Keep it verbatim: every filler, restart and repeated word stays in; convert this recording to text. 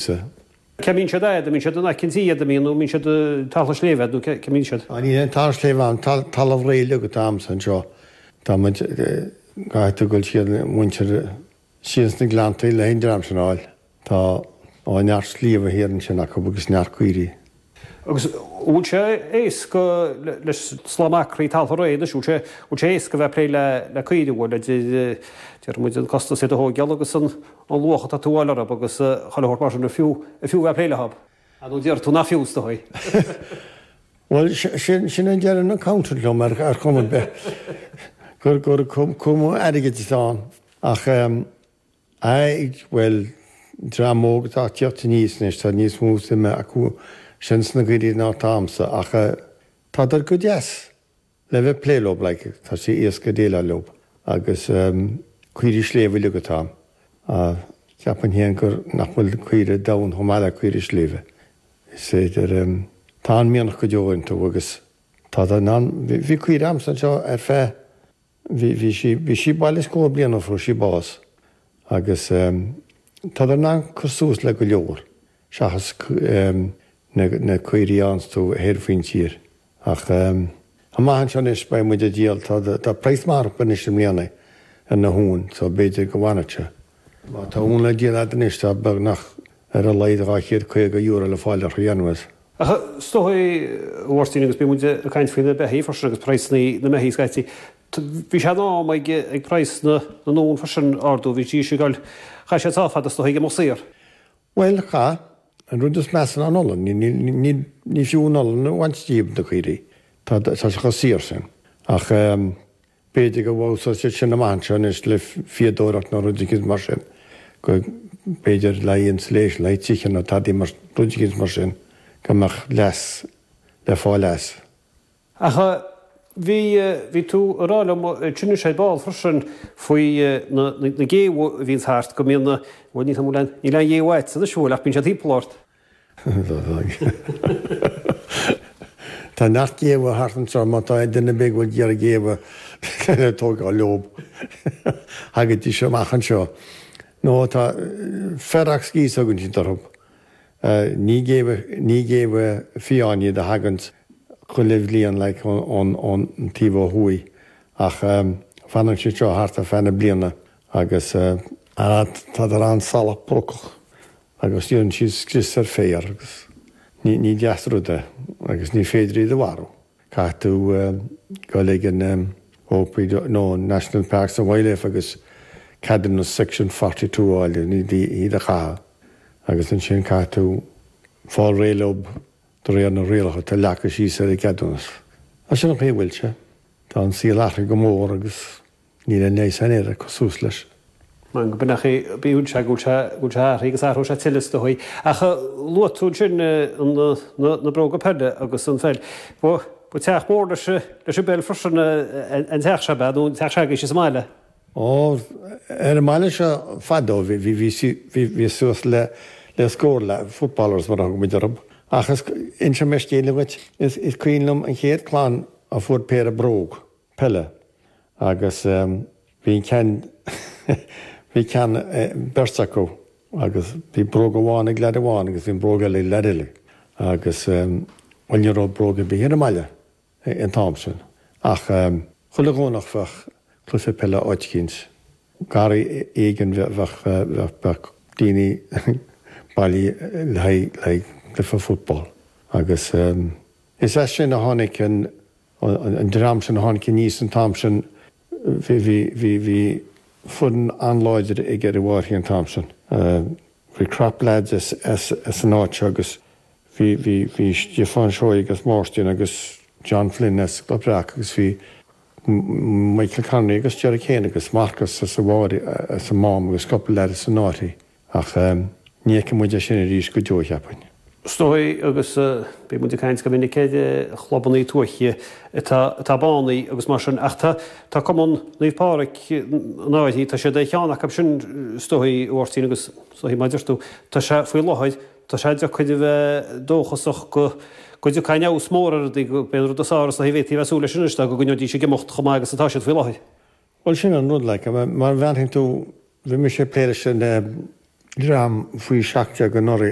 Cá mbíonn siad agat, an mbíonn siad in aice an tí agat, an mbíonn nó an mbíonn siad talamh sléibhe nó cá mbíonn siad? Níl aon talamh sléibhe ann, talamh réidh uilig atá a'msa anseo. Tá muid, caithfidh tú dul siar muintir siar sna gleanntaí le an dream sin a fháil. Tá ó neart sliabha thiar ansin acu agus neart caoirigh. Agus bhfuil sé éasca leis slám acraí taltha réidh anois, bhfuil sé bhfuil sé éasca bheith ag plé le le caoirigh, bhfuil idir deir muid an costas iad a thógáil agus an an luach atá tú a fháil orthu agus chuile shórt mar sin, an fiú an fiú bheith ag plé leo? Nó deir tú nach fiú is dóigh. Bhuel sin sin a deir an accountant liom ar ar chuma ar bith gur gur cuma airgid atá ann ach aye bhuel dream óg atá ag tíocht aníos anois tá níos mó suime acu sin sna caoirigh ná atá a'msa ach tádar go deas le bheith ag plé leo like tá sé éasca déileáil leo agus caoirigh sléibhe uilig atá a'm. Ceapaim féin gur nach bhfuil caoire donn chomh maith le caoire sléibhe. Is féidir tá an mianach go deo iontu agus tádar in ann bhí caoire a'msa anseo ar feadh bhí bhí sí bhí sí baile scór bliain ó fuair sí bás agus tádar in ann cur suas le go leor seachas na na caoirigh a fhaigheanns tú thoir faoin tír. Ach amach anseo anois beidh muid ag díol tá tá praghas maith orthu anois i mbliana ar na huain so b'fhéidir go bhfanfadh sé. Má tá uan le díol agat anois tá beagnach ar a laghad dhá chéad caoga euro le fáil orthu anyways. Ach is dóigh, a Mháirtín, agus bíonn muid ag caint faoi na beithígh freisin agus praghsanna na mbeithígh scaití, bhí sé in am ag ag praghas na n-uan freisin ardú, bhí sí ag dul, chaith siad sách fada is dóigh ag imeacht saor. Bhuel, chaith. An rud is measa ná an olann. Ní ní fiú an olann a bhaint díobh na caoirigh. Tá tá sé chomh saor sin. Ach b'fhéidir go bhfeabhsóidh siad sin amach anseo anois le fíodóireacht nó rud eicínt mar sin, go b'fhéidir le haghaidh insulation, le haghaidh tithe nó tadaí mar rud eicínt mar sin, go mbeadh leas le fáil as. Ach bhí bhí tú ag rá liom ansin ar ball freisin faoi na na géabha a bhíonns thart, go mbíonn na, bhuel níl níl aon ghéabha agatsa anois, bhfuil, ach bíonn siad timpeall ort. Tá neart géabha thart anseo má tá duine ar bith ag bhfuil ag iarraidh géabha le tógáil leob. Thagaidís amach anseo. Nó tá ferox geese a thugann siad orthu. Ní géabha ní géabha fiáin iad a thaganns chuile bhliain like ón ón taobh ó thuaidh ach fanann siad seo thart ar feadh na bliana agus tádar an-salach brocach. Agus déanann siad scrios ar féar agus ní ní deas rud é agus ní féidir iad a mharú. Caithfidh tú dul ag an OPW nó National Parks and Wildlife agus ceadúnas Section forty two a fháil iad iad a chaitheamh agus ansin caithfidh tú fáil réidh leo de réir na rialacha atá leagtha síos ar an gceadúnas. Sin an chaoi a bhfuil sé. Tá an saol athraithe go mór agus Níl aon leigheas air ag cur suas leis. Mar go mbeadh é, bíonn sé, go bhfuil sé, go bhfuil sé athraithe agus athróidh sé tuilleadh is dóigh. Ach luaigh tú ansin na, na, na bróga peile agus an pheil. Ba, ba teach mór leis, leis an bpeil freisin an teach seo, ab ea, nó an teach s'agaibhse sa mbaile? Ó, ar an mbaile seo fadó bhí, bhí, bhí, bhí, bhí suas le, le scór le footballers mar a thug muid orthu. Ach is, inseoidh mé scéal dhuit, is, is cuimhin liom an chéad clann a fuair péire bróg peile. Agus bhí an ceann, bhí ceann, beirt acu agus bhí bróg amháin ag leaid amháin agus bhí an bróg eile ag leaid eile. Agus, bhuel ní raibh bróg ar bith ar an mbaile an t-am sin. Ach chuile Dhomhnach bheadh cluiche peile áit eicínt, garraí éigin bheadh, bheadh, bheadh daoine bailithe le haghaidh, le haghaidh cluiche football. Agus is as sin a tháinig an, An dream sin a tháinig aníos an t-am sin, bhí, bhí, bhí, bhí foireann an-láidir ag ar an bhFairche an t-am sin. Bhí crop lads as, as, as an áit seo agus bhí, bhí, bhí Stiofán Seoighe agus Máirtín agus John Flynn as Cloich Bhreac agus bhí Michael Connolly agus Jerry Kane agus Marcus as an bhFairche, as an Mám agus cúpla leaid as an Fhairche. Ach ní fheicfidh muid é sin arís go deo, cheapfainn. Is dóigh, agus bíonn muid ag caint go minic ar chlubanna tuaithe atá atá bánaithe agus mar sin, ach tá tá Cumann Naomh Pádraig an Fhairche, tá siad ar cheann acu sin is dóigh, a Mháirtín, agus is dóigh mar a deir tú, tá sé faoi láthair, tá sé deacair a bheith dóchasach go go dtiocfaidh aon fheabhas mór ar rudaí, go b'é an rud is fearr is dóigh a bhféadfaí a bheith ag súil leis anois ná go gcoinneoidís ag imeacht chomh maith agus atá siad faoi láthair. Bhuel sin an rud, like, mar a bhreathnaíonn tú, bhí mise ag plé leis an dream faoi seacht déag anuraidh.